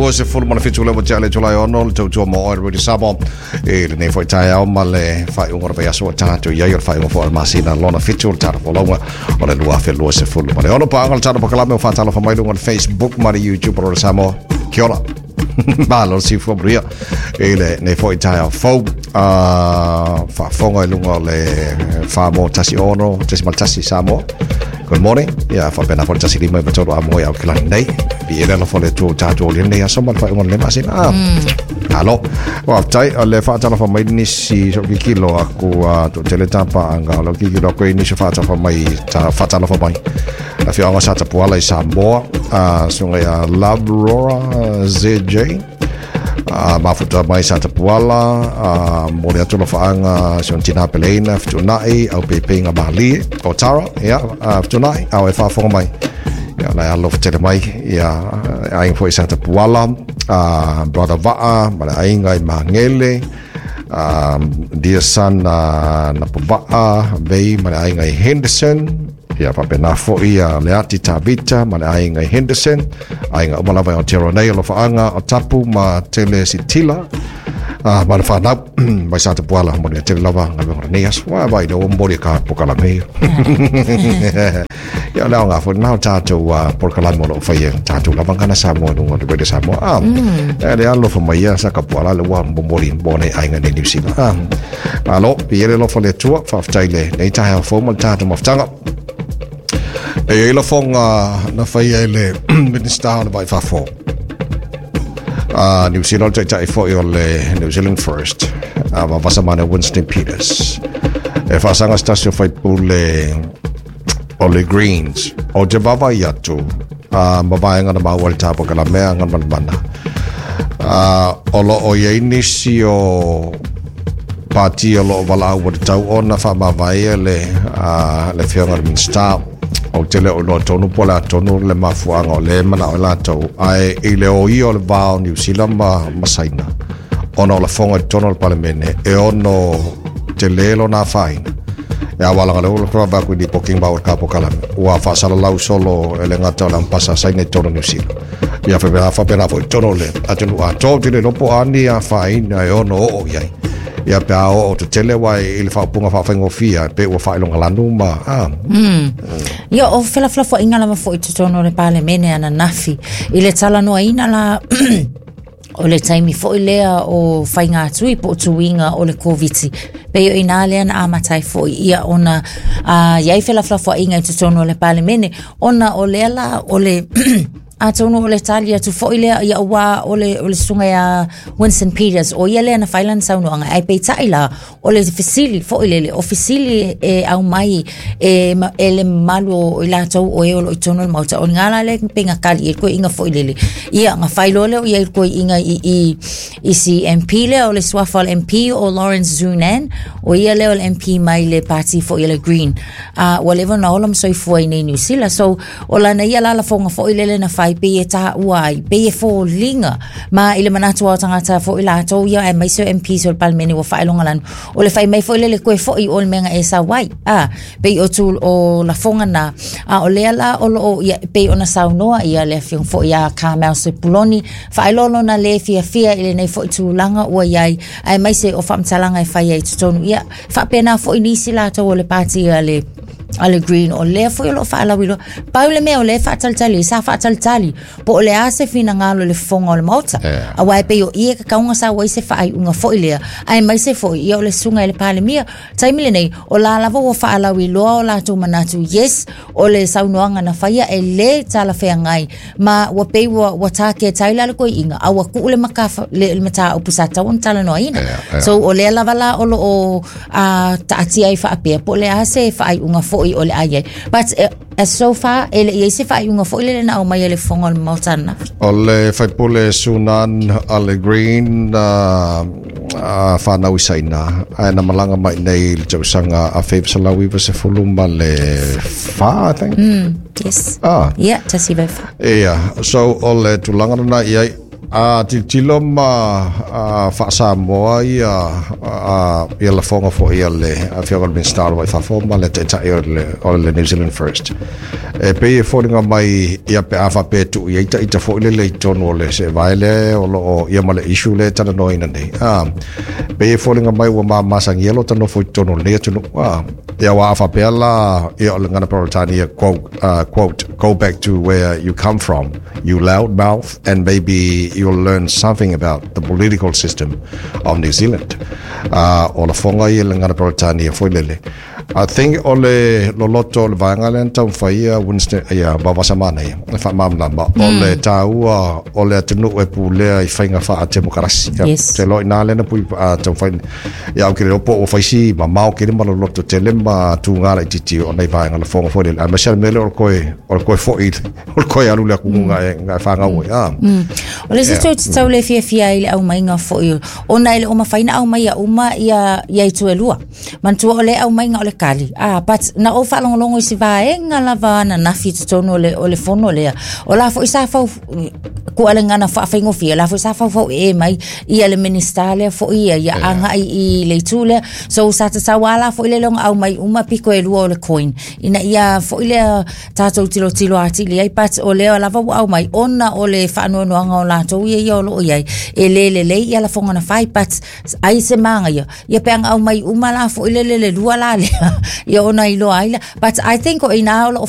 27 le ua le Julai 6 le tautua mo oe Radio Samoa i lenei foi taeao ma le faaiuga o le vaiaso ua tatou i ai o le faaiuga foi o le masina lona 7 o le tatou folauga o le 2026. Paga le tatou polokalame o faatalofa mai luga o le Facebook ma le YouTube o Radio Samoa. Kia ora. Malo le soifua manuia i lenei foi taeao fou. Faafofoga i luga o le 416.1 Samoa. Good morning. Ia faapena foi le 153 Amoa i Aokelani nei. Viia le alofa o le Atua ua tatou aulia lenei aso ma le faaiuga o lenei masina. Malo. Faafetai o le faatalofa mai nisi so kikilo aku toatele tapaaga o lau kikilo aku i nisi o faatalofa mai ta faatalofa mai. Afioaga sa Tapuala i Samoa, susuga ia Labrora ZJ, mafuta mai sa Tapuala, momoli atu alofaaga si ona tina peleina, fetuunai, au peipeiga malie, o Tara, ia, fetuunai, a o e faafofoga mai. Ia, la e alofa tele mai, ia, aiga foi sa Tapuala, brother Vaa, ma le aiga i Magele, dear son, Napavaa, Vei, ma le aiga i Henderson, ia faapena foi ia Leati Tavita ma le aiga i Henderson, aiga uma lava i Aotearoa nei, alofaaga o Tapu ma Tele Sitila, ma le whanau, mai sa Tapuala, mo le tele lava galuega o lenei aso. Ua vai le ua momoli e ka polokalame. Ia le aoga foi lena o tatou polokalame o lo o faia tatou lava gana Samoa i luga o le Radio Samoa. E le alofa mai ia sa Tapuala le ua momoli mo nei aiga nei New Zealand. Malo, viia le alofa o le Atua, faafetai le nei taeao fou ma le tatou mafutaga. E i ai lafoga na faia e le Minista o le Vai Fafo. New Zealand o le taitai foi o le New Zealand First, Vasamane Winston Peters. E faasaga se tasi o faipule o le Greens. Ou te vaavaai atu ma vaega na maua i le tapakalamea Galimanamana. O lo o i ai nisi o pati o lo o valaau ua tatau ona faamavae le le afioga i le Minisita. Ou te le o iloa tonu po o le a tonu le mafuaaga o lea e manao ai latou, ae i le o ia o le va o Niu Sila ma Saina, ona o lafoga i totonu o le Palemene e ono tele lona afaina. E aua laga lea ua vaavaai atu i lipoti ma ka polokalame ua faasalalau solo e le gata o le ampasa a Saina i totonu o Niu Sila. Ia faapena faapena foi i totonu o le atunuu atoa. Ou te le iloa po o a ni afaina e ono oo i ai. Ia pe a oo tetele aua i le faaupuga faafaigofie pei ua faailogalanu ma a. Ia o felafolafoaiga lava foi i totonu o le Palemene ananafi i le talanoaina la o le taimi foi lea o faigatui po o tuiga o le Koviti. Pei o inā lea na amata ai foi ia ona i ai felafolafoaiga i totonu o le Palemene, ona o lea la o le atonu o le tali atu foi lea ia ua o le o le susuga ia Winston Peters o ia lea na fai lana saunoaga ae peitai la o le fesili foi lele o fesili e aumai e, e le mamalu o i latou o e o lo o i totonu o le Maota o lena la lea pei na tali ai le toeaina foi lele ia na fai loa lea o i ai le toeaina i i i si MP lea o le suafa o le MP o Lawrence Zunan o ia lea o le MP mai le pati foi o le Green ua leva ona ola ma soifua i nei Niu Sila so o lana ia la lafoga foi lele na fai pei e taua ai pei e foliga ma i le manatu o tagata foi latou ia aemaise o MPs o le Palemene ua faailogalanu o le fai mai foi lele koe foi o le mea na e sau ai a pei o tu o lafoga na a o lea la o loo ia pei ona saunoa ia le afioga foi ia Carmel Sepuloni faailoa lona le fiafia i lenei foi tulaga ua i ai aemaise o faamatalaga e fai ai i totonu ia faapena foi nisi latou o le pati a le a le Green o lea foi o loo faalauiloa pau le mea o lea e faatalitali sa faatalitali po o le a se finagalo i le fofoga o le Maota aua e pei o i e tatau ona sau ai se faaiuga foi lea aemaise foi ia o le susuga i le Palemia taimi lenei o la lava ua faalauiloa o latou manatu yes o le saunoaga na faia e lē talafeagai ma ua pei ua ua taketa ai la le toeaina a ua tuu le matafa le, le mataupu sa tatau ona talanoaina so o lea lava la o loo taatia ai faapea po o le a se faaiuga foi o le a i ai but as so far e le i ai se faaiuga foi lele na aumai e le fofoga o le Maota ananafi. O le faipule Sunan a le Green whanau i Saina ae na malaga mai nei i le tausaga 1994 ma le 4, I think. Yes. Yeah, tasi vai wha. Ia, so o le tulaga lena i ai. A tilotilo ma faa-Samoa ia ia lafoga foi a le afioga i le Minisita o le Vai i Fafo ma le Taitai o le New Zealand First. E pei e foliga mai ia pe a faapea e tuu i ai taita foi lele i totonu o le seevae lea o loo ia ma le issue lea e talanoaina nei. Pei e foliga mai ua mamasagia lo ta nofo i totonu o lenei atunuu. Ia aua a faapea la ia o le gagana Peretania, quote, "Go back to where you come from, you loud mouth, and maybe you'll learn something about the political system of New Zealand." O lafoga ia le gagana Peretania foi lele. I think o le loloto o le vaega lea na taumafai ia Winston ia Vaovasamanaia e faamalamalama o le taua o le atunuu e pulea i faiga faatemokarasi. Te loa ina lea na pui taumafai ia au ke le po o faisi mamao ke le ma loloto tele ma tūngā laitiiti o nei vaega lafoga foi lele. Aemaise le mea lea o le koe foi o le koe alu le aku nga e whangau ai. O le isi toe tatau le fiafia ai le aumaiga foi ona e le o mafai na aumaia uma ia itu e lua. Manatua o le aumaiga o le kali. Ah, but na ou faalogologo i si vaega lava ananafi i totonu o le fono lea. O la foi sa fau kualegana faafaigofie, la foi sa faufau e mai ia le Minista lea foi ia agai i le itu lea. So sa tatau ala foi le ona aumai uma piko e lua o le coin. Ina ia foi lea tatou tilotilo atili ai, but o lea lava ua aumai ona o le faanoanoaga o latou ia o loo iai e le lelei ia lafoga na fai, but ai se maga ia pe aga aumai uma la foi le le lua la lea ia ona iloa ai la, but I think o ina o loo.